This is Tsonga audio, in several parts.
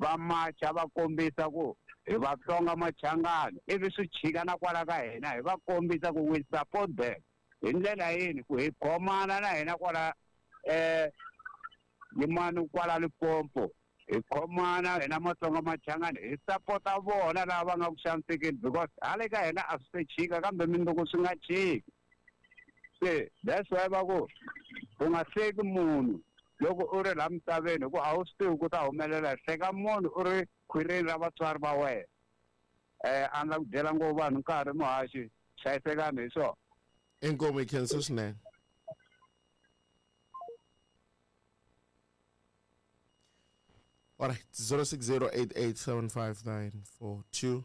Va macha va kombisa ku hi Vatsonga Machangani ivi swi chika na kwala ka hina hi va kombisa ku we support them hi ndlela yini ku hi khomana na hina kwala yimani kwala Limpopo hi khomana hina Matsonga Machangani hi sapota vona lava va nga ku xanisekeni because hale ka hina a swi se chika kambe mindzuku swi nga chiki se that's why va ku u nga hleki munhu loko u ri laha misaveni hikuva a wu swi tivi ku ta humelela hleka munhu u ri khwirini ra vatswari va wena a ni la ku byela ngopfu vanhu nkarhi muhaxi hlayisekani hi swona. Inkomu hi khensa swinene. Alright, 0608875942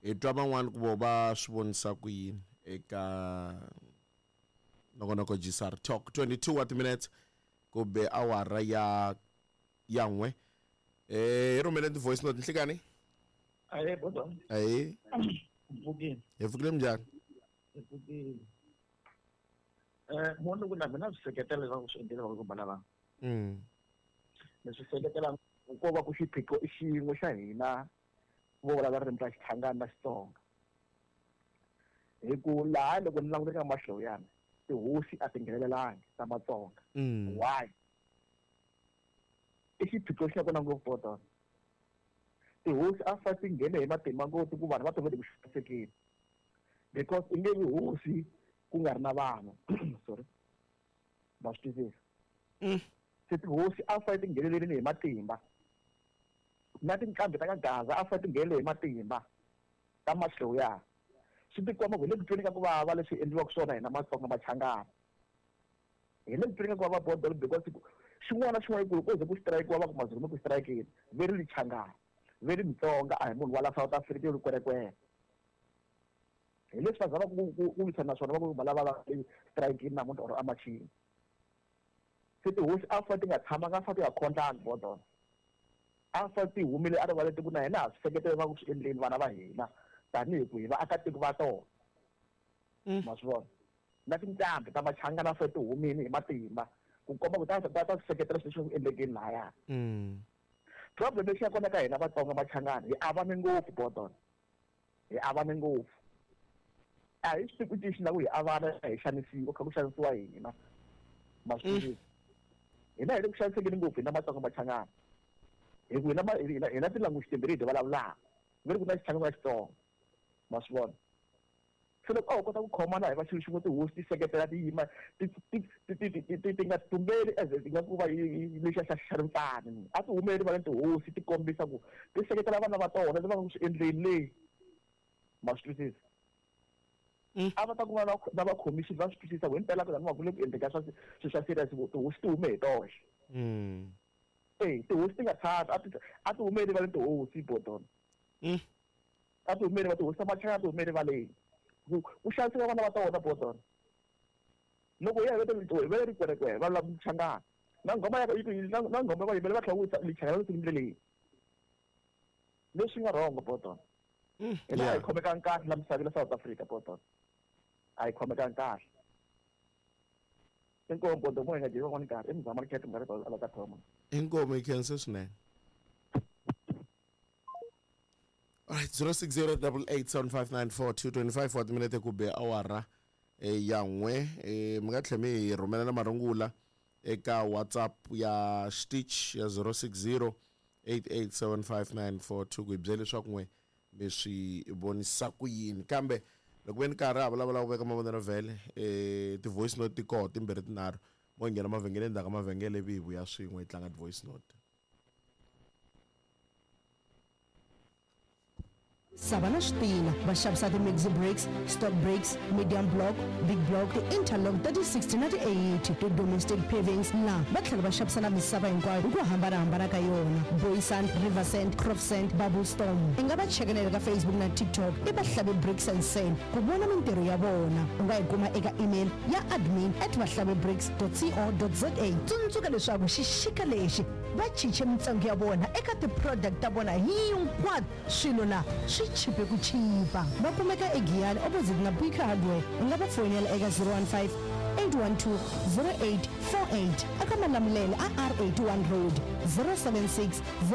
hi twa van'wana ku vo va swi vonisa ku yini eka nongonoko GSR Talk 22 wa timinetse ku be awara ya ya n'we hi rhumeleni ti-voice note nhlikani. Ahee bodo. Ahee. Mpfukile. Hi pfukile minjhani? Hi pfukile. Mo ku na mina swi seketela leswaku swi endlile va ku lava. Ni swi seketela ko va ku xiphiqo i xin'we xa hina vo vulavula ririmi ra Xichangani na Xitsonga. Hi ku laha loko ni languta eka Mahlawuyana tihosi a ti nghenelelangi ta Matsonga. Why? I xiphiqo xi nga kona ngopfu bodo. Tihosi a fa ti nghene hi matimba ngopfu ku vanhu va tovele ku xanisekeni. Because i nge vi hosi ku nga ri na vanhu. Sorry. Ma swi twisisa? Se tihosi a fa ti nghenelerile hi matimba. Na tinqambi ta ka Gaza a fa ti nghenele hi matimba ta Mahlawuyana. Swi tikomba ku hi le ku tweni ka ku vava leswi endliwaka swona hina Matsonga Machangana. Hi le ku tweni ka ku vava bodo because xin'wana na xin'wana ku ko ze ku strike-iwa va ku Mazulu mi ku strike-ini ve ri Lichangana ve ri Mutsonga a hi munhu wa la South Africa yo kwerekwere. Hi leswi va zamaka ku ku lwisana na swona va ku va lava va strike-ini namuntlha or emachini. Se tihosi a fa ti nga tshamanga a fa ti nga khondlangi bodona. A fa ti humile a rivaleni ti ku na hina ha swi seketela va ku swi endleni vana va hina tanihi ku hi vaakatiko va tona. Ma swi vona? Na tinqambi ta Machangana a fa ti humile hi matimba ku komba ku ta ta ta swi seketela swilo leswi ku endlekeni lahaya. Problem lexi nga kona ka hina Vatsonga Machangana hi avane ngopfu bodona. Hi avane ngopfu. A hi swi tivi ku xi lava ku hi avana hi xanisiwa kha ku xanisiwa hina. Ma swi twisisa? Hina hi le ku xanisekeni ngopfu hina Matsonga Machangana. Hi ku hina hina hina ti-language timbirhi hi ti vulavulaka. Ve ri ku na Xichangana na Xitsonga. Ma swi vona? Se loko a ho kota ku khomana hi va xilo xin'we tihosi ti seketela ti yima ti ti ti ti ti ti ti nga tumbeli as ti nga ku va lexiya xa xa rimpfani. A ti humeli rivaleni tihosi ti kombisa ku ti seketela vana va tona leswi va nga ku swi endleni le. Ma swi twisisa? A va ta ku va na va khomixini va swi twisisa ku himpela ku laniwa ku le ku endleka swa swilo swa serious ku tihosi ti hume hi toxe. Tihosi ti nga tshami a ti a ti hume erivaleni tihosi bodona. A ti humeli va tihosi ta Machangana a ti hume rivaleni. Ku ku xaniseka vana va tona bodona. Loko hi ya hi vele rikwerekwere va lava Machangana. Na nghoma ya na nghoma va yimbela va tlhela ku Lichangana ri ndleleni. Leswi nga wrong bodona. Hina a hi khomekangi kahle la misaveni la South Africa bodona. A hi khomekangi kahle. Inkomu bodo mo hi nga dyi van'wani nkarhi i muzama ri khetha minkarhi ala ka thoma. Inkomu hi khense swinene. Alright, 0608875942 25 wa timinete ku be awara ya n'we mi nga tlhela mi hi rhumela na marungula eka WhatsApp ya Stitch ya 0608875942 ku hi byela leswaku n'we mi swi vonisa ku yini kambe loko ve ni karhi ha vulavula ku veka mavonelo vhele ti-voice note ti koho timbirhi tinharhu mo nghena mavhengeleni ndzhaku ka mavhengele ivi hi vuya swin'we hi tlanga ti-voice note. Sava na switina va xavisa ti-maxi bricks, stock bricks, medium block, big block, ti-interlock ta ti-60 na ti-80, ti-domestic pavings na va tlhela va xavisa na misava hinkwayo hi ku hambana-hambana ka yona, Boy Sand, River Sand, Crop Sand, Bubble Storm. I nga va cheka na le ka Facebook na TikTok i Vahlavi Bricks and Sand ku vona mintirho ya vona. U nga yi kuma eka email ya admin at vahlavibricks dot co dot za. Tsundzuka leswaku xixika lexi va chiche mintsengo ya vona eka ti-product ta vona hinkwato. Swilo la swi chipe ku chipa. Va kumeka eGiyani opposite na Bika Hardware. U nga va foyinela eka 015 812 0848 eka Malamulele a R81 Road 076 0.